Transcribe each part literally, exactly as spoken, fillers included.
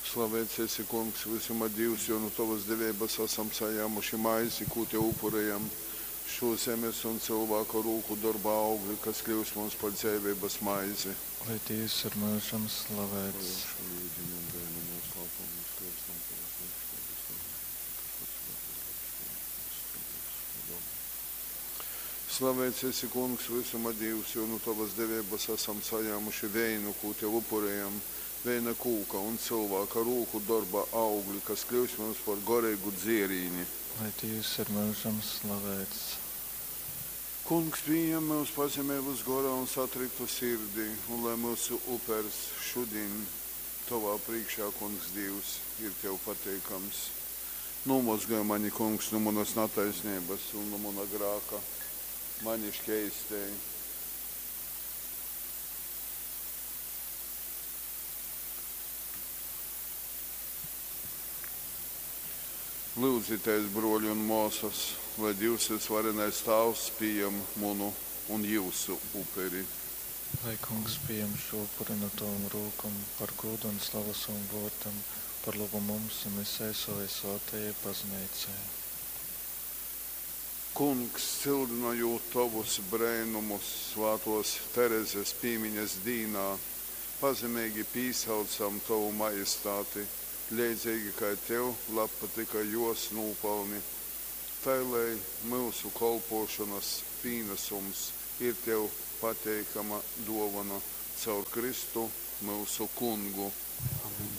Slaveits esi, Kungs, vysuma Dīvs, jo nu tovas deveibas asam sajāmuši maizi, kū tev upurejam, šū zemes un cylvāka rūku dorba augli, kas kļyus mums par dzeiveibas maizi. Lai Dīvs ir myužam slavēts. Šo yudiņu un veina noslēpumu mēs kļūstam tavā priekšā, Slaveits esi, Kungs, vysuma Dīvs, jo nu tovas deveibas asam sajāmuši veinu, kū tev upurejam, veina kūka un cylvāka rūku dorba augli, kas kļūs mums par goreigu dzierīni. Lai Dīvs ir myužam slavēts. Kungs, pījem myus pazemeibas gorā un satriktu sirdī, un lai myusu upers šudiņ tovā prīškā, Kungs Dīvs, ir tev pateikams. Nūmozgoj mani, Kungs, nu munas nataisneibas un nu muna grāka. Mani škeistej. Lyudzitēs, bruoļi un muosys, lai Dīvs vysvarenais Tāvs pījam munu un jiusu uperi. Lai Kungs pījam šo upuri no tavam rūkom par gūdu un slavu savam vōrdam, par lobu mums un visai savai svātajai bazneicai. Kungs, cyldynojūt tovus breinumus svātōs Terezes pīmiņas dīnā, pazemeigi pīsaucam tovu majestāti, leidzeigi kai tev labpatyka jōs nūpalni. Tai lai myusu kolpōšonas pīnasums ir tev pateikama dōvona caur Kristu, myusu Kungu. Amen.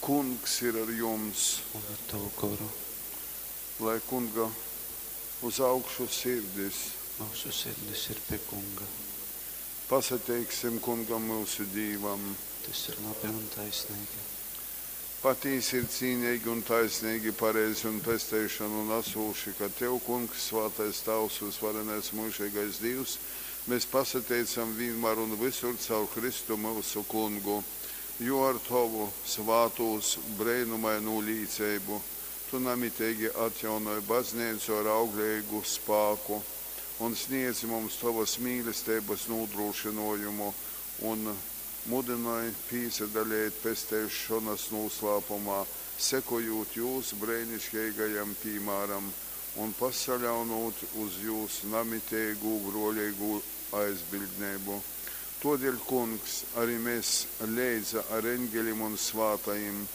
Kungs ir ar jums! Un ar tavu goru. Lai Kunga uz augšu sirdis! Myusu sirdis ir pie Kunga. Pasateiksim Kungam, myusu Dīvam! Tas ir labi un taisnīgi. Patīsi ir cīneigi un taisneigi, pareizi un pesteišonu nasūši, ka tev, Kungs, svātais Tāvs, vysvarenais myužeigais Dīvs, mēs pasateicam vīnmār un vysur caur Kristu myusu Kungu. Jo ar tovu svātūs breinumainū līceibu tu namiteigi atjaunoj bazneicu ar augleigu spāku un sniedzi mums tovas mīlesteibas nūdrūšynōjumu un mudynoj pīsadaleit pesteišonas nūslāpumā, sekojūt jūs breiniškeigajam pīmāram un pasaļaunūt uz jūs namiteigū brōleigū aizbiļdneibu. Tōdēļ, Kungs, ari mes leidza ar eņgelim un svātajim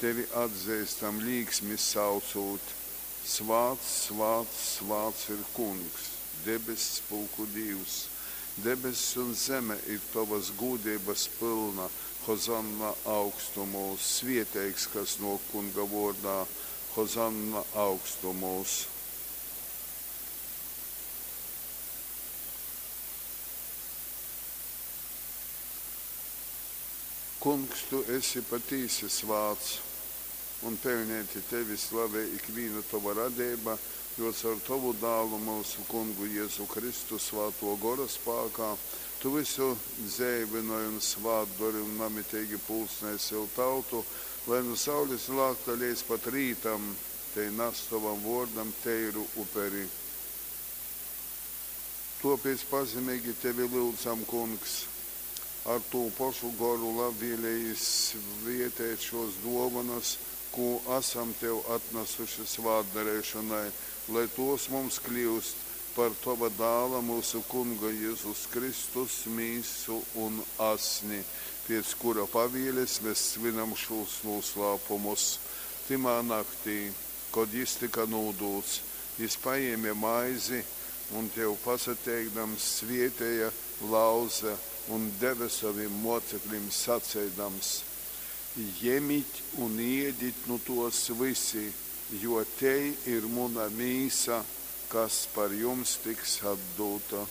tevi atzeistam līksmi saucūt, Svāts, svāts, svāts ir Kungs, debess pulku Dīvs! Debess un zeme ir tovas gūdeibas pylna. Hozanna augstumūs! Svieteigs, kas nōk Kunga vōrdā! Hozanna augstumūs! Kungs, tu esi patīsi svāts, un peļneiti tevi slavej ikvīna tova radeiba, jo caur tovu dālu, myusu Kungu Jezu Kristu, svātō gora spākā, tu visu dzeivynoj un svātdori un namiteigi pulcnej sev tautu, lai nu saules lākta leidz pat rītam tei nas tovam vōrdam teiru uperi. Tōpēc pazemeigi tevi lyudzam, Kungs, ar tū pošu goru labvēlīgi svieteit šōs dōvonas, kū asam tev atnasuši svātdareišonai, lai tōs mums kļyust par tova dāla, myusu Kunga Jezus Kristus mīsu un asni, pēc kura pavieles mēs svinam šūs nūslāpumus. Tymā naktī, kod jys tyka nūdūts, jys pajēme maizi un, tev pasateikdams, svēteja, lauze un deve sovim mōceklim saceidams: Jemit un ēdit nu tōs vysi, jo tei ir muna mīsa, kas par jums tiks atdūta.